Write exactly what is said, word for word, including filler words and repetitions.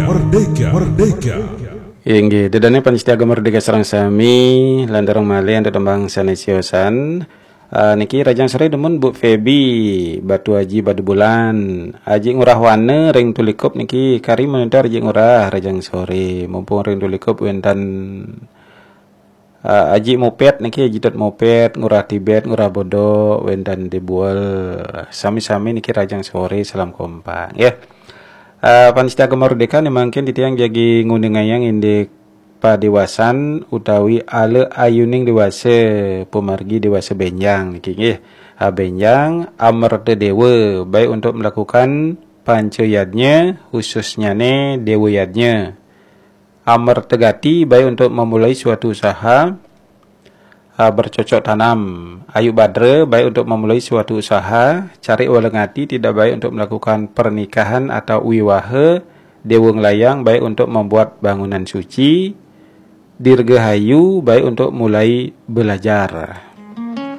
Merdeka, Merdeka. Inggih, ida dané pamiarsa Gema Merdeka sareng sami, lanturang malih antuk tembang sané siosan. Ah, niki rahajeng soré dumun Bu Feby, Batu Aji, Batubulan. Aji Ngurah Wana ring Tulikup niki kari monitor Aji Ngurah rahajeng soré. Mumpung ring Tulikup wénten ah, Aji Mopet niki, Aji Tut Mopet, Ngurah Tibet, Ngurah Bodok, wénten Débuel. Sami-sami niki rahajeng soré, salam kompak. Ya. Ah, pamiarsa Gema Merdeka niki mangkin titiang jagi nguningayang indik padéwasan utawi ala ayuning déwasa, pamargi déwasa bénjang niki nggih. Ah, bénjang Amerta Déwa, baik untuk melakukan panca yadnya, khususnyané Déwa Yadnya. Amerta Gati, baik untuk memulai suatu usaha, ah, bercocok tanam. Ayu Badra, baik untuk memulai suatu usaha. Carik Walengati, tidak baik untuk melakukan pernikahan atau wiwaha. Déwa Nglayang, baik untuk membuat bangunan suci. Dirgahayu, baik untuk mulai belajar.